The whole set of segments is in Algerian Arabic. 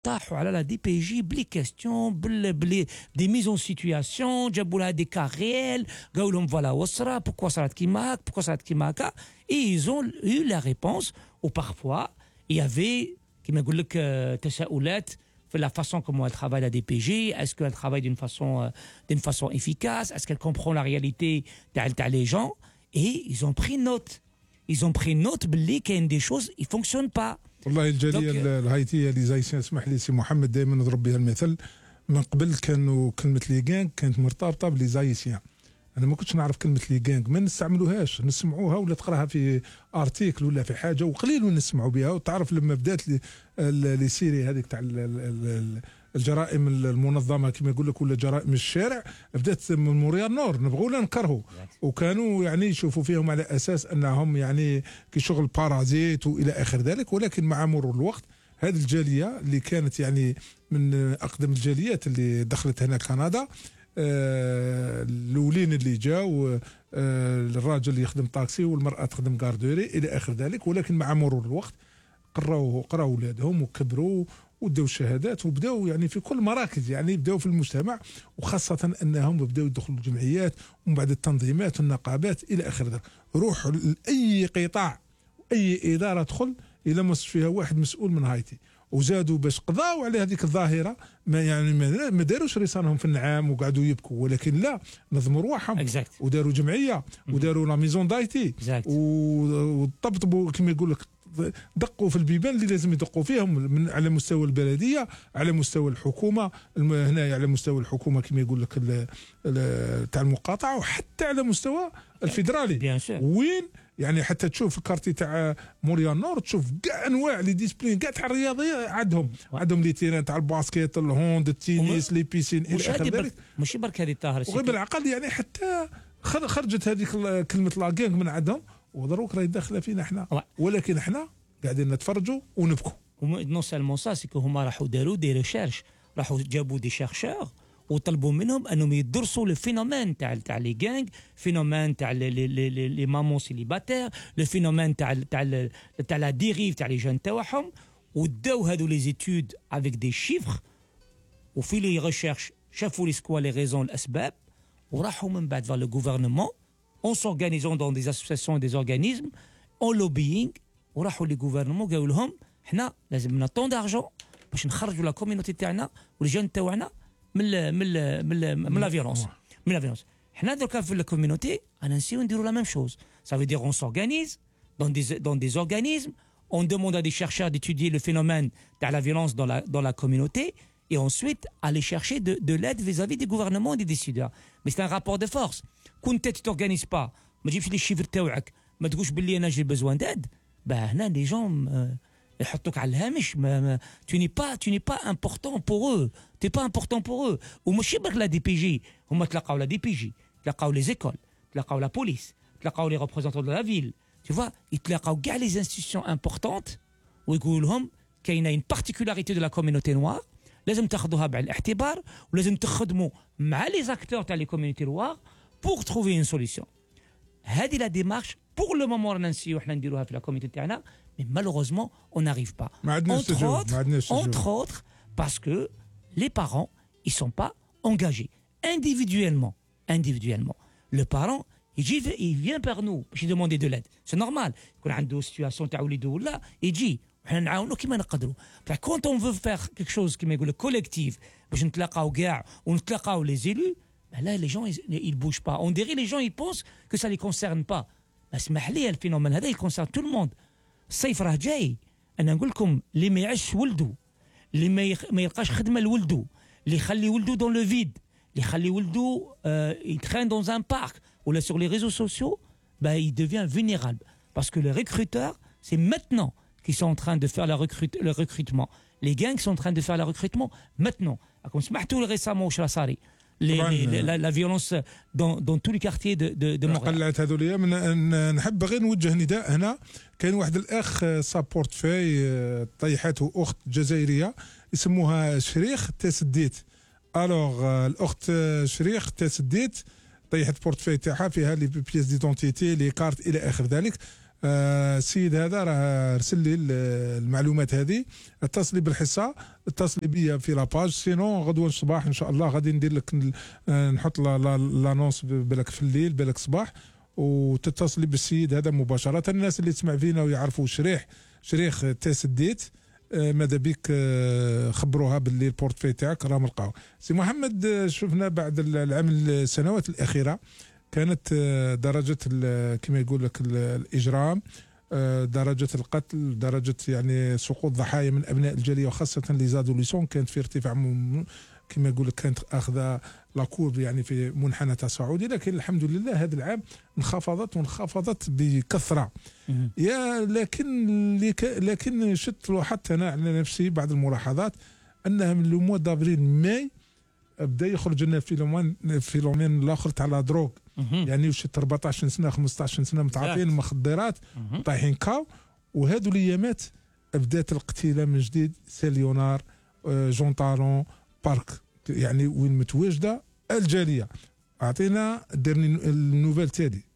طاحوا على لا دي بي جي بلي كيستيون بلي دي ميزون سيتوياسيون، جابوا لها دي كا ريال، قالوا لهم فوالا وصرا بوكوا صارت كيما هاك بوكوا صارت كيما هاكا، اي ايزون يو لا ريبونس. و بارفوا يافي كيما نقول لك تساؤلات في la façon comment elle travaille la DPG, est-ce qu'elle travaille d'une façon efficace, est-ce qu'elle comprend la réalité تاع les gens, et ils ont pris note باللي كاين des choses qui fonctionnent pas. والله الجاليه الهايتيه اللي زي اسمح لي سي محمد دائما نضرب بها المثل. من قبل كانوا كلمه لي غانغ كانت مرتبطه بلي زايسيان. انا ما كنتش نعرف كلمه لي غانغ، ما نستعملوهاش، نسمعوها ولا تقراها في ارتيكل ولا في حاجه وقليل نسمعوا بها. وتعرف لما بدات لي سيري هذيك تاع الجرائم المنظمه كما يقول لك ولا جرائم الشارع، بدات من موريال نور نبغوا لا نكرهوا، وكانوا يعني يشوفوا فيهم على اساس انهم يعني كي شغل بارازيت والى اخر ذلك. ولكن مع مرور الوقت هذه الجاليه اللي كانت يعني من اقدم الجاليات اللي دخلت هنا كندا، الاولين اللي جاوا الراجل يخدم طاكسي والمراه تخدم غاردوري الى اخر ذلك. ولكن مع مرور الوقت قراوا اولادهم وكبروا وداو الشهادات وبداوا يعني في كل مراكز، يعني بداوا في المجتمع، وخاصه انهم بداوا يدخلوا الجمعيات ومن بعد التنظيمات والنقابات الى اخر ذلك. روح لاي قطاع اي اداره تدخل الى ما فيها واحد مسؤول من هايتي، وزادوا باش قضاوا على هذيك الظاهره. ما يعني ما داروش رسالهم في النعام وقعدوا يبكوا، ولكن لا، نظموا رواحهم وداروا جمعيه وداروا لا ميزون دايتي وطبطبوا كما يقول لك، دقوا في البيبان اللي لازم يدقوا فيهم من على مستوى البلديه، على مستوى الحكومه هنا، على مستوى الحكومه كما يقول لك تاع المقاطعه، وحتى على مستوى الفيدرالي. وين يعني حتى تشوف الكارتي تاع موريال نور، تشوف كاع انواع لي ديسبلين كاع تاع الرياضيه عندهم لي تيران تاع الباسكيت، الهوند، التنس، لي بيسين الى اخر ذلك. ماشي برك هذه طاهر، وغير بالعقل يعني حتى خرجت هذيك كلمه لا غانغ من عندهم، ودروك راهي داخله فينا احنا. ولكن احنا قاعدين نتفرجوا ونبكوا. نو سالمون سا، سيكو هما راحوا داروا دي ريشيرش، راحوا جابوا دي شيرشور وطلبوا منهم انهم يدرسوا لو فينومين تاع لي غانغ، فينومين تاع لي مامون سيليباتير، لو فينومين تاع لا ديريف تاع لي جون تاعهم، وداو هادو لي زيتود افيك دي شيفر، وفي لي ريشيرش شافوا لي سكوا لي ريزون الاسباب، وراحوا من بعد فال لو غوفرنمون en s'organisant dans des associations et des organismes en lobbying، وراحوا لي غوفرنمون قالوا لهم حنا لازمنا طون دارجون باش نخرجوا لا كوميونيتي تاعنا والجون تاعنا من لا فيولونس. حنا دركا في لا كوميونيتي انا نسيو نديروا لا ميم شوز. Ça veut dire on s'organise dans des organismes, on demande à des chercheurs d'étudier le phénomène de la violence dans la communauté, et ensuite aller chercher de l'aide vis-à-vis des gouvernements et des décideurs. Mais c'est un rapport de force. كنت تورغانيز با، ما تجيبش لي الشيفر تاعك، ما تقولش باللي انا جي بزوان داد، هنا لي جون يحطوك على الهامش. tu n'es pas important pour eux, t'es pas important pour eux. وماشي برك لا دي بي جي، هما تلقاو لا دي بي جي، تلقاو لي زيكول، تلقاو لا بوليس، تلقاو لي ريبريزونطون دو لا فيل، tu vois، يتلاقاو كاع لي انستيتيوشن امبورطونت ويقولوا لهم كاينه une particularité de la communauté noire لازم تاخذوها بعين الاعتبار، ولازم تخدموا مع لي زاكتور تاع لي كوميونيتي نوار pour trouver une solution. هذه لا ديمارش pour le moment رانا نسيو احنا نديروها في لا كوميونيتي تاعنا، mais malheureusement on n'arrive pas. Entre autres parce que les parents ils sont pas engagés individuellement. Le parent il vient par nous باش demander de l'aide. C'est normal. يكون عنده situation تاع وليده ولا يجي وحنا نعاونو كيما نقدروا. Quand on veut faire quelque chose كيما يقول collectif باش نتلاقاو كاع ونتلاقاو les élus، là les gens ils bougent pas. On dirait les gens ils pensent que ça les concerne pas. اسمح لي الفينومين هذا يكونسيرن تو الموند. الصيف راه جاي، انا نقول لكم اللي ما يعيش ولده، اللي ما يلقاش خدمه لولده، اللي يخلي ولده دون لو فيد، اللي يخلي ولده يترين دون ان بارك ولا sur les réseaux sociaux، il devient vulnérable parce que les recruteurs c'est maintenant qu'ils sont en train de faire le recrutement. Les gangs sont en train de faire le recrutement maintenant. comme سمعتوا récemment واش راه صاري la violence dans tous les quartiers de Montréal. قلعت هذوليا. نحب غير نوجه نداء هنا. كاين واحد الاخ سابورت في طيحته اخت جزائريه يسموها شريخ تسديت. الوغ الاخت شريخ تسديت طيحت بورتفاي تاعها فيها لي بيس ديدونتيتي، لي كارت الى اخر ذلك. السيد هذا راه رسل لي المعلومات هذه، اتصلي بالحصه، اتصلي بيا في لاباج، سينو غدوه الصباح ان شاء الله غادي ندير لك نحط لانونس بالك في الليل بالك صباح، وتتصلي بالسيد هذا مباشره. الناس اللي تسمع فينا ويعرفوا شريخ تسديت ماذا بك خبروها باللي البورتفي تاعك راه ملقاو. سي محمد، شفنا بعد السنوات الاخيره كانت درجه كما يقول لك الاجرام، درجه القتل، درجه يعني سقوط ضحايا من ابناء الجاليه وخاصه لي زادوليسون كانت في ارتفاع كما يقول لك، كانت اخذه لاكورب يعني في منحنى تصاعدي، لكن الحمد لله هذا العام انخفضت بكثره. يا لكن لاحظت انا على نفسي بعض الملاحظات انها من لو موا دافريل ماي بدا يخرج لنا فيلومين الاخر تاع لا دروغ، يعني وشت 14 سنه 15 سنه متعاطين المخدرات طايحين كاو، وهذو الايامات بدات الاقتيله من جديد، سيليونار، جون طالون، بارك، يعني وين متواجده الجاليه. اعطينا ديرني النوفيل تالي.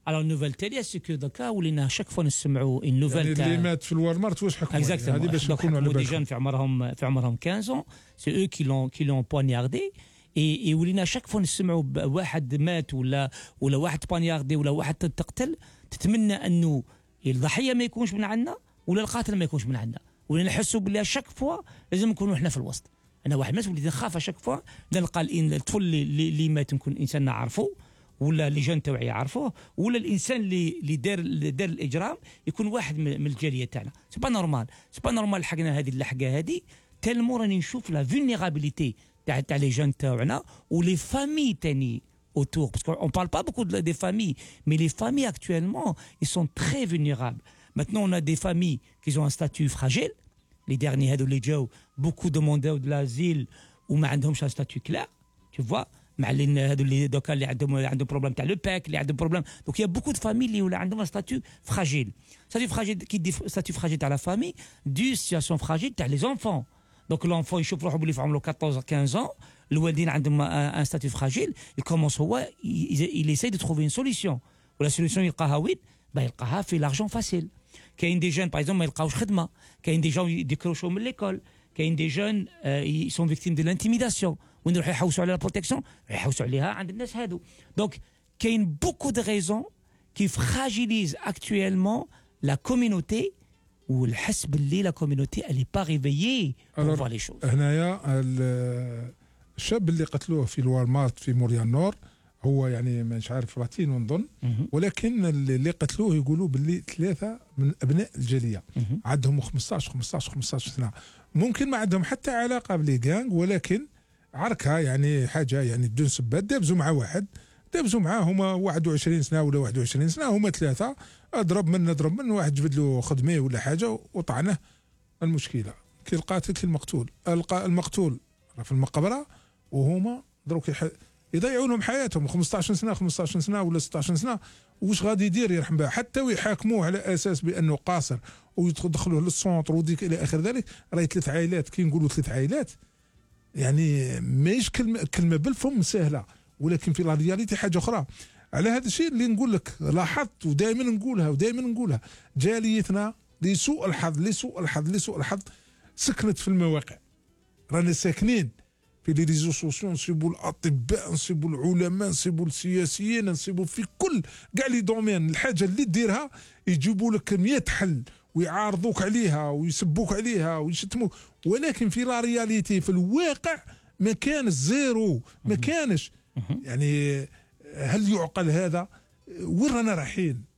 Alors, nouvelle télé, c'est que دوكا ولينا شاك فوا نسمعوا une nouvelle اللي مات في الوالمارت واش حكموا؟ هذه باش نكونوا على بالنا. دي جون في عمرهم 15 ans, c'est eux qui l'ont poignardé. et ولينا شاك فوا نسمعوا واحد مات ولا واحد بانياردي ولا واحد تقتل، تتمنى انه الضحيه ما يكونش من عندنا ولا القاتل ما يكونش من عندنا، ولينا نحسوا باللي شاك فوا لازم نكونوا احنا في الوسط. انا واحد الناس وليت نخاف شاك فوا نلقى الطفل اللي مات نكون انسان نعرفه، ولا اللي جان توعي يعرفوه، ولا الانسان اللي دار الاجرام يكون واحد من الجاليه تاعنا. سي با نورمال حقنا هذه اللحقه هذه تالمو راني نشوف لا فولنيرابيليتي تاع لي جان تاعنا ولي فامي تاني autour, parce qu'on parle pas beaucoup des familles, mais les familles actuellement ils sont très vulnérables. Maintenant on a des familles qui ont un statut fragile, les derniers هذو اللي جاو beaucoup demandaient de l'asile وما عندهمش un statut clair, tu vois, مع اللي هذو اللي دوكا اللي عندهم بروبليم تاع لو باك، اللي عندهم بروبليم، دونك يا بوكو دو فامي اللي ولا عندهم ستاتيو فراجيل. كي دي ستاتيو فراجيل تاع لا فامي دو سيتياسيون فراجيل تاع لي زونفون. دونك لونفون يشوف روحو بلي في عمره 14 15 الوالدين عندهم ان ستاتيو فراجيل، يكومونس هو يساي دو تروفي اون سوليسيون، ولا سوليسيون يلقاها وين؟ يلقاها في لارجون فاسيل. كاين دي جون باغ اكزومبل ما يلقاوش خدمه، كاين دي جون يديكروشو من ليكول، كاين دي جون سون فيكتيم دو لانتيميداسيون، وين يروحوا يحوسوا على البروتيكسيون يحوسوا عليها عند الناس هادو. دونك كاين بوكو دو ريزون كي فراجيليز اكطويلمون لا كوميونيتي، والحس باللي لا كوميونيتي الي با ريفيي بور فوا لي شوز. هنايا الشاب اللي قتلوه في الوالمارت في موريال نور هو يعني مش عارف لاتينو نظن، ولكن اللي قتلوه يقولوا باللي 3 من ابناء الجاليه عندهم 15 سنه، ممكن ما عندهم حتى علاقه بلي جانج، ولكن عركه يعني حاجه يعني بدون سبات، دابزوا مع واحد، دابزوا معاه هما 21 سنه ولا 21 سنه، هما 3 اضرب من واحد جبد له خدمه ولا حاجه وطعنه. المشكله كي القاتل كي المقتول، المقتول في المقبره وهما دروك يضيعوا لهم حياتهم 15 سنه ولا 16 سنه. واش غادي يدير يرحم بها؟ حتى ويحاكموه على اساس بانه قاصر ويدخلوه للسونتر وديك الى اخر ذلك. راهي 3 عائلات، كي نقولوا 3 عائلات يعني ماهيش كلمه بالفم سهله، ولكن في لا رياليتي حاجه اخرى. على هذا الشيء اللي نقول لك لاحظت ودائما نقولها جاليتنا لسوء الحظ سكنت في المواقع. رانا ساكنين في لي ريزو سوسيو، نصيبوا الاطباء، نصيبوا العلماء، نصيبوا السياسيين، نصيبوا في كل كاع لي دومين. الحاجه اللي ديرها يجيبوا لك 100 حل ويعارضوك عليها ويسبوك عليها ويشتموك، ولكن في لا رياليتي في الواقع ما كان زيرو، ما كانش. يعني هل يعقل هذا؟ وين رانا رايحين؟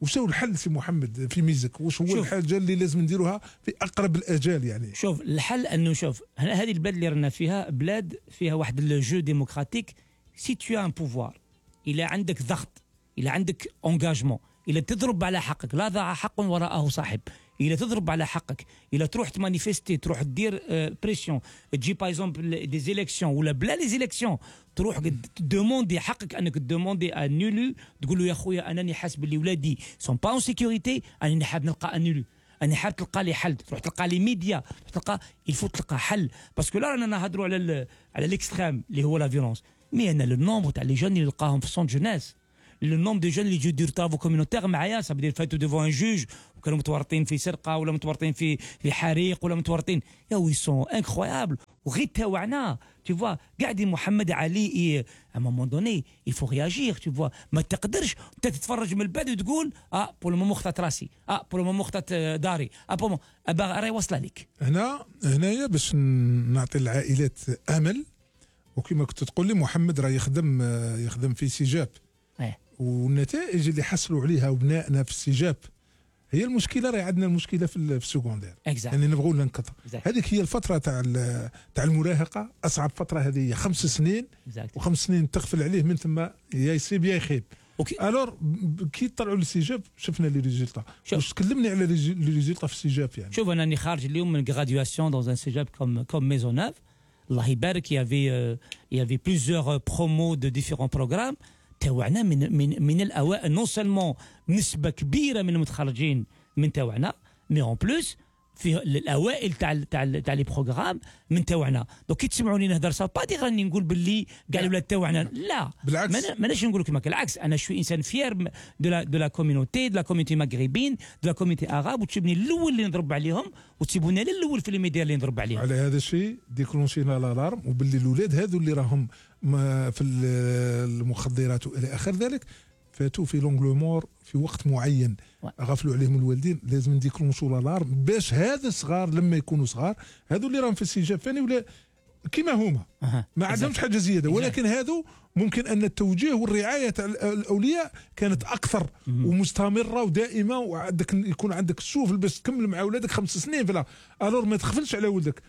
وش هو الحل سي محمد في ميزك؟ وش هو الحاجه اللي لازم نديروها في اقرب الاجال؟ يعني شوف الحل انه شوف هذه البلاد اللي رانا فيها بلاد فيها واحد الجو ديموكراتيك. سي تو ان بوفوار، الى عندك ضغط، الى عندك انجاجمون، الى تضرب على حقك، لا ضاع حق وراءه صاحب، الى تضرب على حقك، الى تروح تمانيفيستي، تروح دير بريسيون، تجي باغ اكزومبل دي زيليكسيون ولا بلا لي زيليكسيون، تروح دوموندي حقك انك دوموندي ان نولو، تقول له يا خويا انني حاسب اللي ولادي سون با اون سيكوريتي، انني حاب نلقى ان نولو، اني حاب تلقى لي حل، تروح تلقى لي ميديا، تلقى الفو تلقى حل. باسكو لا رانا نهضروا على الاكستريم اللي هو لا فيولونس، مي انا لو نومبر تاع لي جون اللي نلقاهم في سون جوناس، لو نوم دو جون اللي يجوا يديروا طافو كوميونيتير معايا صافي دير فاتو ديفون ان جوج وكانوا متورطين في سرقه ولا متورطين في حريق ولا متورطين يا وي سون انكرويابل وغير تاوعنا tu vois قاعد محمد علي à un moment donné il faut réagir tu vois ما تقدرش انت تتفرج من البعد وتقول بور لو مومون خطات راسي بور لو مومون خطات داري بور راهي واصله لك هنايا باش نعطي العائلات امل وكما كنت تقول لي محمد راه يخدم في سجاب والنتائج اللي حصلوا عليها ابنائنا في السجاب هي المشكله راهي عندنا المشكله في السكوندير يعني نبغوا ننقطع هذيك هي الفتره تاع المراهقه اصعب فتره هذه 5 سنين و5 سنين تغفل عليه من ثم يا يصيب يا يخيب الور كي طلعوا للسجاب شفنا لي ريزولتا واش تكلمني على لي ريزولتا في السجاب يعني شوف انا راني خارج اليوم من غراديواسيون دون ان سجاب كوم ميزونوف الله يبارك يافي بليزيور برومو دو ديفيرون بروغرام تاوعنا من الاوائل نون سولمون نسبه كبيره من المتخرجين من تاوعنا مي اون بلوس في الاوائل تاع لي بروغرام من تاوعنا دونك كي تسمعوني نهضر سا با دي راني نقول باللي كاع الولاد تاوعنا لا بالعكس ماناش نقول لك العكس انا شوي انسان فيير دو لا كوميونيتي مغربين دو لا كوميونيتي اغاب وتسيبني الاول اللي نضرب عليهم وتسيبوني انا الاول في الميديا اللي نضرب عليهم على هذا الشيء ديكلونشينا الالارم وباللي الاولاد هذو اللي راهم في المخدرات والى اخر ذلك فاتوا في لونغلومور في وقت معين غفلوا عليهم الوالدين لازم نديكلونشوا الالارم باش هذا الصغار لما يكونوا صغار هذو اللي راهم في السجاب ثاني ولا كما هما ما عندهمش حاجه زياده ولكن هذو ممكن ان التوجيه والرعايه تاع الاولياء كانت اكثر ومستمره ودائمه وعندك يكون عندك السوفل باش تكمل مع اولادك 5 سنين فلا الور ما تغفلش على ولدك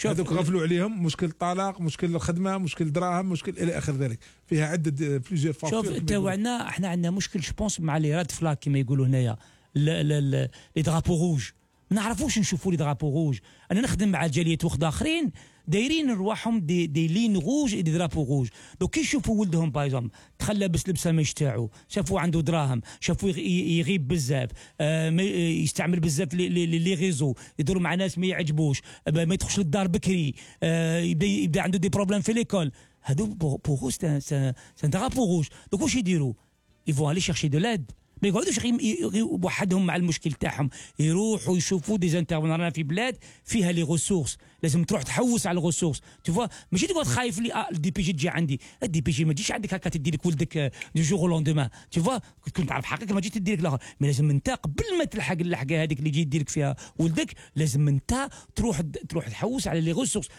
هذوك غفلوا عليهم مشكل طلاق مشكل الخدمه مشكل دراهم مشكل الى اخر ذلك فيها عده بليزيور فاكتور شوف تاوعنا احنا عندنا مشكل جوبونس مع لي راد فلاك كما يقولوا هنايا لي درابو روج ما نعرفوش نشوفوا لي درابو روج انا نخدم مع جاليات وخد اخرين دايرين رواحهم دي لين روج دي درابو روج دوك كي يشوفوا ولدهم بايزوم تخلى بس لبسه مش تاعو شافوا عنده دراهم شافوا يغيب بزاف يستعمل بزاف لي ريزو يدوروا مع ناس ما يعجبوش ما يدخلش للدار بكري يبدا عنده دي بروبليم في ليكول هادو بوغو سان درابو روج دوك واش يديروا يفون الي شيرشي دو لاد ما يقعدوش وحدهم مع المشكل تاعهم يروحوا يشوفوا دي انترفون رانا في بلاد فيها لي ريسورس لازم تروح تحوس على الريسورس تشوف ماشي تقعد خايف لي الدي بي جي تجي عندي الدي بي جي ما تجيش عندك هكا تدي لك ولدك دو جور لوندومان تشوف كنت تعرف حقك ما تجي تدي لك الاخر مي لازم انت قبل ما تلحق اللحقه هذيك اللي يجي يدير لك فيها ولدك لازم انت تروح تحوس على لي ريسورس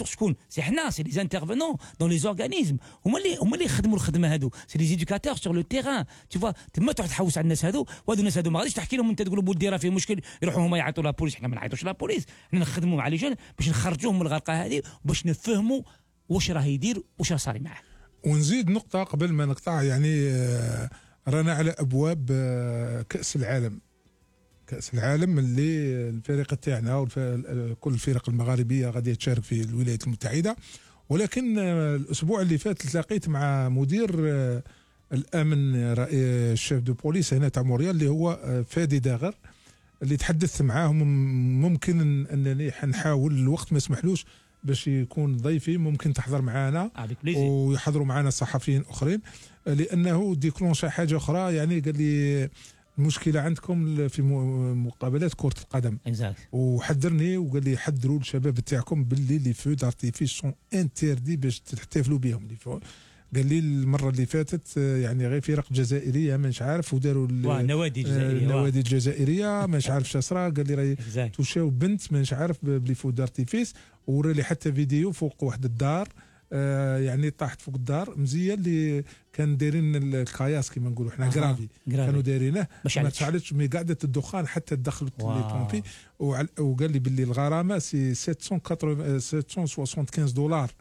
شكون سي حنا سي لي انترفونون دون لي اورغانيزم هما اللي يخدموا الخدمه هذو سي لي ايدوكاتور سور لو تيران تشوف تما تروح تحوس على الناس هذو وهذو الناس هذو ما غاديش تحكي لهم انت تقول بولدي راه فيه مشكل يروحوا هما يعيطوا لا بوليس حنا ما نعيطوش لا بوليس حنا نخدموا مع لي جون باش نخرجوهم من الغرقه هذه باش نفهموا واش راه يدير واش راه صاري معاه ونزيد نقطه قبل ما نقطع يعني رانا على ابواب كاس العالم اللي الفريق تاعنا وكل الفرق المغاربيه غادي تشارك في الولايات المتحده ولكن الاسبوع اللي فات تلاقيت مع مدير الامن الشيف دو بوليس هنا تاع موريال اللي هو فادي داغر اللي تحدثت معاه ممكن انني حنحاول الوقت ما يسمحلوش باش يكون ضيفي ممكن تحضر معنا ويحضروا معنا صحفيين اخرين لانه ديكلونشا حاجه اخرى يعني قال لي المشكله عندكم في مقابلات كره القدم وحذرني وقال لي حذروا الشباب تاعكم باللي لي فو دارتيفيس سون انتردي باش تحتفلوا بهم قال لي المره اللي فاتت يعني غير فرق جزائريه مانيش عارف وداروا النوادي الجزائريه مانيش عارف شا صرا قال لي راهي توشاو بنت مانيش عارف بلي فو دارتيفيس ورا لي حتى فيديو فوق واحد الدار يعني طاحت فوق الدار مزيه اللي كان دايرين الكاياس كما نقولوا حنا كرافي كانوا دايرينه ما تشعلتش مي قعدت الدخان حتى دخلت لي بومبي وقال لي باللي الغرامه سي 775 دولار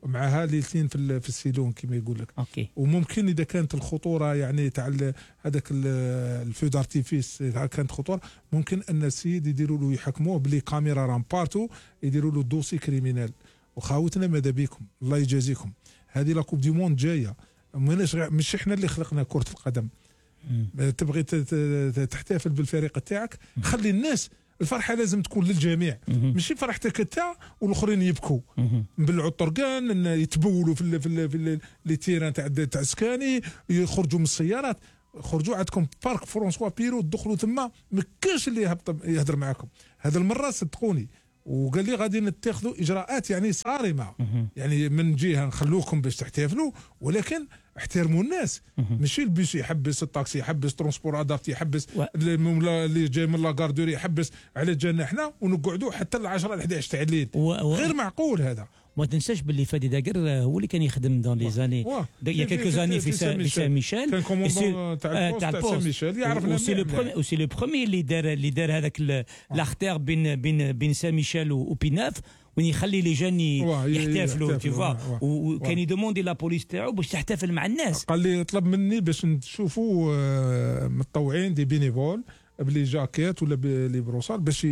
معها ليلتين في السيلون كما يقول لك اوكي وممكن اذا كانت الخطوره يعني تاع هذاك الفو دارتيفيس كانت خطوره ممكن ان السيد يديروا له يحكموه بلي كاميرا رامبارتو يديروا له دوسي كريمينال وخاوتنا ماذا بكم الله يجازيكم هذه لا كوب دي موند جايه مش احنا اللي خلقنا كره القدم تبغي تحتفل بالفريق تاعك خلي الناس الفرحه لازم تكون للجميع، ماشي فرحتك انت والاخرين يبكوا. نبلعوا الطرقان، يتبولوا في لي تيران تاع سكاني، يخرجوا من السيارات. خرجوا عندكم بارك فرونسوا بيرو، دخلوا تما ما كاش اللي يهضر معكم. هذا المره صدقوني، وقال لي غادي نتخذوا اجراءات يعني صارمه، يعني من جهه نخلوكم باش تحتفلوا، ولكن احترموا الناس. ماشي البيس يحبس، الطاكسي يحبس، ترونسبور ادابتي يحبس، اللي جاي من لاكاردوري يحبس على جالنا احنا، ونقعدوا حتى ل 10 ل 11 تاع الليل. غير معقول هذا. ما تنساش باللي فادي داقر هو اللي كان يخدم دون لي زاني يا كيلكو زاني في سان ميشيل، كان كوموندون تاع سان ميشيل، يعرفنا. وسي لو بروميي اللي دار هذاك لاختار بين سان ميشيل وبيناف، وين يخلي لي جان يحتفلوا تي فوا، وكان يدوموندي لا بوليس تاعو باش تحتفل مع الناس. قال لي طلب مني باش نشوفوا متطوعين دي بينيفول بلي جاكيت ولا بلي بروسال، باش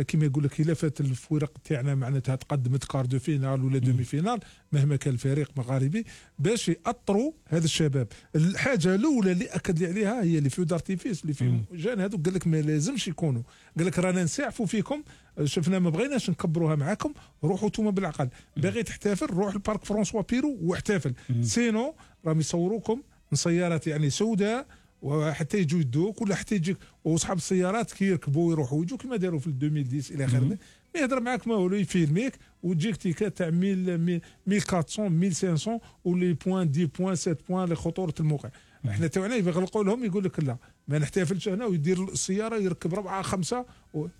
كيما يقول لك الا فات الفرق تاعنا معناتها تقدمت كار دو فينال ولا دومي فينال مهما كان الفريق مغاربي، باش يأطروا هذا الشباب. الحاجه الاولى اللي اكد لي عليها هي اللي في دارتيفيس اللي في جان هذوك، قال لك ما لازمش يكونوا، قال لك رانا نساعفوا فيكم، شفنا ما بغيناش نكبروها معاكم، روحوا انتم بالعقل. باغي تحتفل روح البارك فرونسوا بيرو واحتفل، سينو راهم يصوروكم من سيارات يعني سوداء، وحتى يجوا يدوك ولا حتى يجيك واصحاب السيارات كي يركبوا ويروحوا ويجوا كما داروا في 2010 الى اخره. ما يهضر معاك ما هو يفيلميك وتجيك تيكات تاع 1400 1500 ولي بوان 10 بوان 7 بوان لخطوره الموقع. احنا توعنا يغلقوا لهم، يقول لك لا ما نحتفلش هنا، ويدير السياره يركب 4 5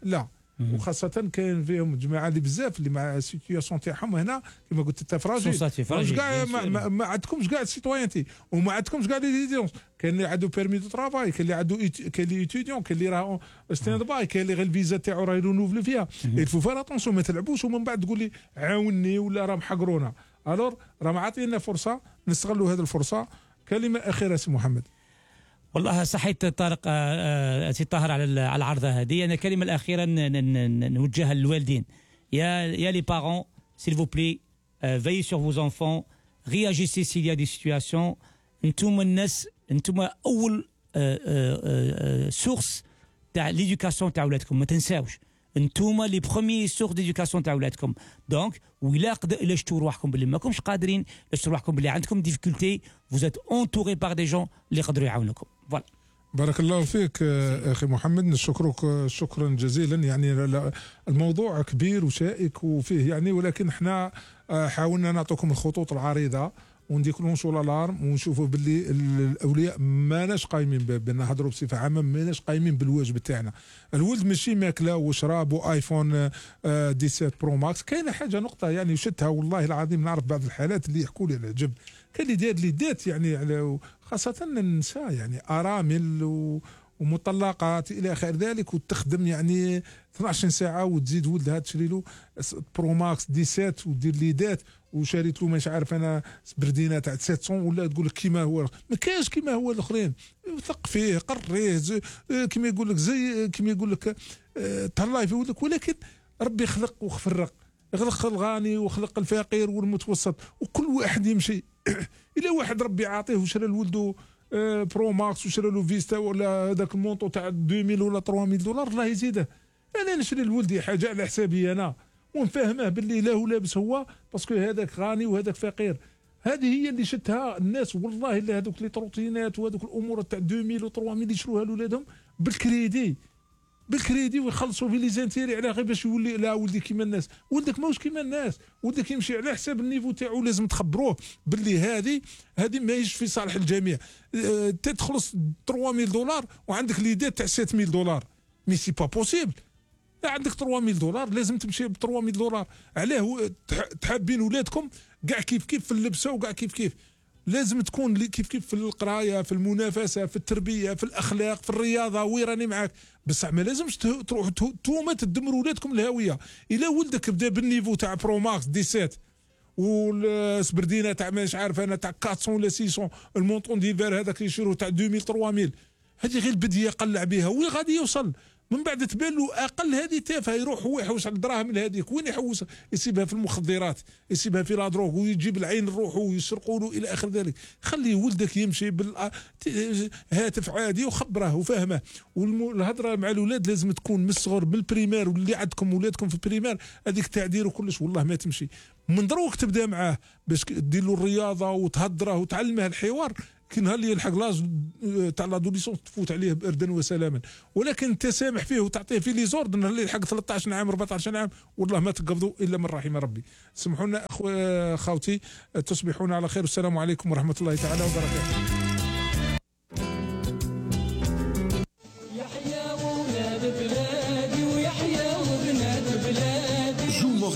لا. وخاصة كاين فيهم جماعة اللي بزاف اللي مع السيتياسيون تاعهم هنا كما قلت انت فراجي، كاع ما عندكمش كاع السيتويانتي، وما عندكمش كاع لي ديزيونس. كاين اللي عنده بيرمي دو ترافاي، كاين اللي عنده كاين اللي ايتيديون، كاين اللي راه ستاند باي، كاين اللي غير الفيزا تاعو راه يرونوفلي فيها. الفو فار اتونسيون ما تلعبوش ومن بعد تقول لي عاوني ولا راه محقرونا. الور راه معطينا فرصة نستغلوا هذه الفرصة. كلمة أخيرة سي محمد. والله صحيت طارق سي طاهر على العرضه هذه. انا الكلمه الاخيره نوجهها للوالدين. يا لي بارون s'il vous plaît veillez sur vos enfants, réagissez s'il y a des situations. انتم الناس، انتم اول سورس تاع ليدوكاسيون تاع ولادكم، ما تنساوش انتم لي بروميي سورس ديدوكاسيون تاع ولادكم. دونك الا شفتوا روحكم باللي ماكمش قادرين، الا شفتوا روحكم باللي عندكم ديفيكولتي، vous êtes entouré par des gens اللي يقدروا يعاونوكم. فوالا. بارك الله فيك اخي محمد، نشكرك شكرا جزيلا. يعني الموضوع كبير وشائك وفيه يعني، ولكن احنا حاولنا نعطيكم الخطوط العريضه ونديكلونشوا الالارم ونشوفوا باللي الاولياء ماناش قايمين بنهضروا بصفه عامه، ماناش قايمين بالواجب تاعنا. الولد ماشي ماكله وشراب وايفون 17 برو ماكس. كاينه حاجه نقطه يعني وشدتها والله العظيم، نعرف بعض الحالات اللي يحكوا لي على العجب. كاين اللي دار لي دات يعني على خاصه النساء يعني ارامل ومطلقات الى اخر ذلك، وتخدم يعني 12 ساعه وتزيد ولدها تشري له برو ماكس 17 ودير لي دات، وشريت له مش عارف انا سبردينه تاع 700 ولا تقول لك كيما هو. ما كاينش كيما هو الاخرين، ثق فيه قريه كيما يقول لك زي كيما يقول لك تهلاي في ولدك. ولكن ربي خلق وخفرق، خلق الغني وخلق الفقير والمتوسط، وكل واحد يمشي. الى واحد ربي عاطيه وشرى لولده برو ماكس وشرى له فيستا ولا هذاك المونطو تاع 2000 ولا 3000 دولار، الله يزيده. انا نشري لولدي حاجه على حسابي انا ونفهمه باللي لا هو لابس هو باسكو هذاك غني وهذاك فقير. هذه هي اللي شتها الناس والله. الا هذوك لي تروتينات وهذوك الامور تاع 2000 و 3000 يشروها لولادهم بالكريدي ويخلصوا في لي زانتيري على غير باش يولي لا ولدي كيما الناس. ولدك ماهوش كيما الناس، ولدك يمشي على حساب النيفو تاعو. لازم تخبروه باللي هذه ماهيش في صالح الجميع. تخلص 3000 دولار وعندك ليدات تاع 7000 دولار، مي سي با بوسيبل. عندك 3000 دولار لازم تمشي ب 3000 دولار. علاه تحابين ولادكم كاع كيف في اللبسه وكاع كيف لازم تكون كيف في القرايه، في المنافسه، في التربيه، في الاخلاق، في الرياضه. ويراني معاك، بصح ما لازمش تروحوا نتوما تدمروا ولادكم الهويه. الا ولدك بدا بالنيفو تاع برو ماكس 17 والسبردينه تاع مش عارف انا تاع 400 ولا 600، المونطون ديفير هذاك يشيروا تاع 2000 3000، هذه غير البديه قلع بها وين غادي يوصل. من بعد تبان له اقل هذه تافهه، يروح هو يحوس على الدراهم هذيك، وين يحوس؟ يسيبها في المخدرات، يسيبها في لا دروغ، ويجيب العين لروحه ويسرقوا له الى اخر ذلك. خلي ولدك يمشي بالهاتف عادي وخبره وفهمه. والهضره مع الاولاد لازم تكون من الصغر بالبريمير، واللي عندكم ولادكم في البريمير هذيك التعدير وكلش والله ما تمشي. من دروك تبدا معاه باش دير له الرياضه وتهضره وتعلمه الحوار، كي نهار اللي يلحق لاج تاع لادوليسونس تفوت عليه باردا وسلاما. ولكن انت سامح فيه وتعطيه في لي زورد، نهار اللي يلحق 13 عام 14 عام والله ما تقبضوا الا من رحم ربي. سمحوا لنا اخوتي، تصبحون على خير، والسلام عليكم ورحمه الله تعالى وبركاته.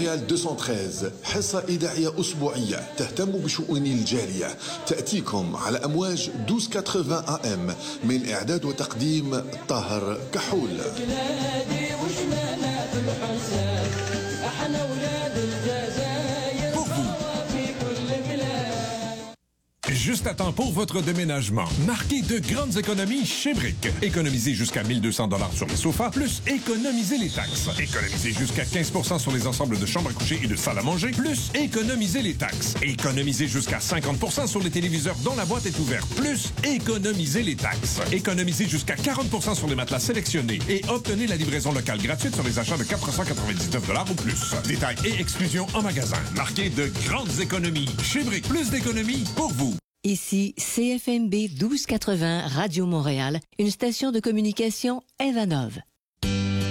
مونريال 213 حصة إذاعية أسبوعية تهتم بشؤون الجالية، تأتيكم على أمواج 1280 AM، من إعداد وتقديم طاهر كحول. Juste à temps pour votre déménagement. Marquez de grandes économies chez Brick. Économisez jusqu'à 1200$ sur les sofas, plus économisez les taxes. Économisez jusqu'à 15% sur les ensembles de chambres à coucher et de salles à manger, plus économisez les taxes. Économisez jusqu'à 50% sur les téléviseurs dont la boîte est ouverte, plus économisez les taxes. Économisez jusqu'à 40% sur les matelas sélectionnés et obtenez la livraison locale gratuite sur les achats de 499$ ou plus. Détails et exclusions en magasin. Marquez de grandes économies chez Brick. Plus d'économies pour vous. Ici CFMB 1280 Radio Montréal, une station de communication Evanov.